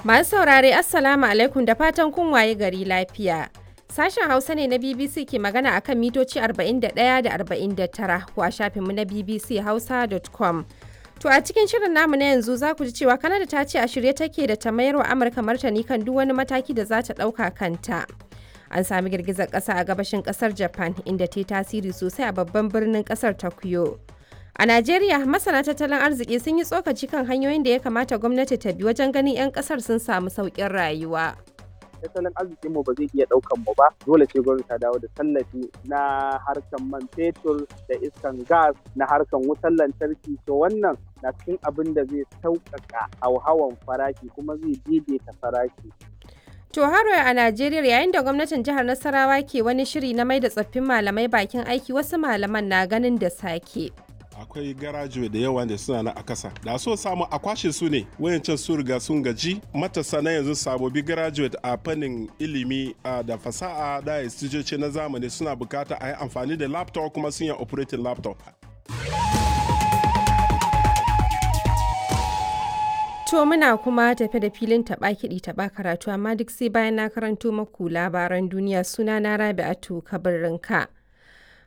Masu saurare, Assalamu alaikum, da fatan kun waye gari lafiya. Sashen Hausa ne na BBC ke magana akan mitoci 41 da 49 ko a shafinmu na bbchausa.com. To, a cikin shirin namu na yanzu za ku ji cewa Kanada ta ce a shirye take da ta mayar wa Amurka martani kan duk wani mataki da za ta ɗauka kanta. An sami girgizar ƙasa a gabashin ƙasar Japan, inda ta yi tasiri sosai a babban birnin ƙasar Tokyo. A Najeriya, masana tattalin arziki sun yi tsokaci kan hanyoyin da ya kamata gwamnati ta bi wajen ganin 'yan ƙasar sun samu sauƙin rayuwa. Tattalin arzikin mu ba zai iya daukan mu ba, dole sai gwamnati ta dawo da tallafi na harkan man fetur da iskan gas, na harkan wutar lantarki. To, wannan na cikin abin da zai sauƙaƙa hauhawan farashi kuma zai daidaita farashi. To, haro a Najeriya, yayin da gwamnatin jihar Nasarawa ke wani shiri na mai da tsoffin malamai bakin aiki, wasu malaman na ganin da sake. Akwai garajuwe da yawa da suna na a kasa, da so samu a kwashe su ne. Wayancan su riga sun gaji. Matasa na yanzu, sabobi graduate a fannin ilimi da fasaha da instituce na zamani, suna bukata a yi amfani da laptop, kuma sun yi operating laptop. To, muna kuma tafe da filin taɓa kiɗi taɓa karatu, amma duk sai bayan na karanto maku labaran duniya. Suna na Rabi'atu Kabirinka.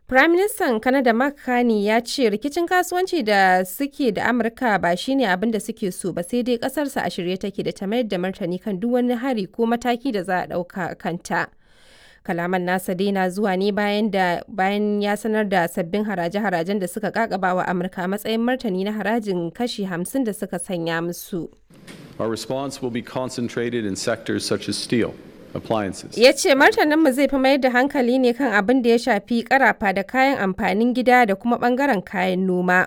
Firaministan Kanada Mark Carney ya ce rikicin kasuwanci da suke da Amurka ba shine abin da suke so ba, sai dai kasarsa a shirye take da ta mayar da martani kan duk wani hari ko mataki da za a ɗauka kanta. Kalaman nasa dai na zuwa ne bayan da bayan ya sanar da sabbin haraje-harajen da suka kakaba wa Amurka a matsayin martani na harajin kashi 50 da suka sanya musu. Our response will be concentrated in sectors such as steel, appliances. Ya ce martaninmu zai fi mayar da hankali ne kan abin da ya shafi karafa da kayan amfanin gida da kuma bangaren kayan noma.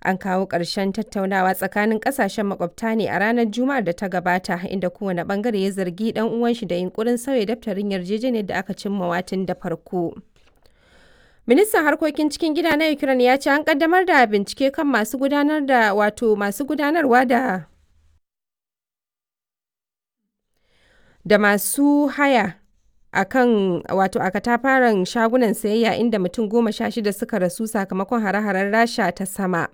An kawo ƙarshen tattaunawa tsakanin ƙasashen makwabta ne a ranar Juma'ar da ta gabata, inda kowane bangare ya zargi ɗan uwan shi da yunkurin sauya daftarin yarjejeniyar da aka cimma watin da farko. Ministan harkokin cikin gida na Ukraine ya ce an kaddamar da bincike kan masu gudanar da, wato masu gudanarwa da masu haya a kan, wato a katafaren shagunan sayayya inda mutum 16 suka rasu sakamakon hare-haren Rasha ta sama.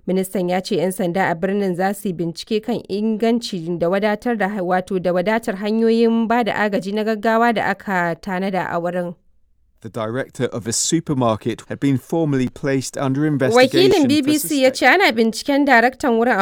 Ministan ya ce 'yan sanda a birnin za su yi bincike kan inganci da wadatar da, wato da wadatar hanyoyin ba da agaji na gaggawa da aka tanada a wurin. The director of a supermarket had been formally placed under investigation Wakilin for BBC ya ce ana binciken daraktan wurin a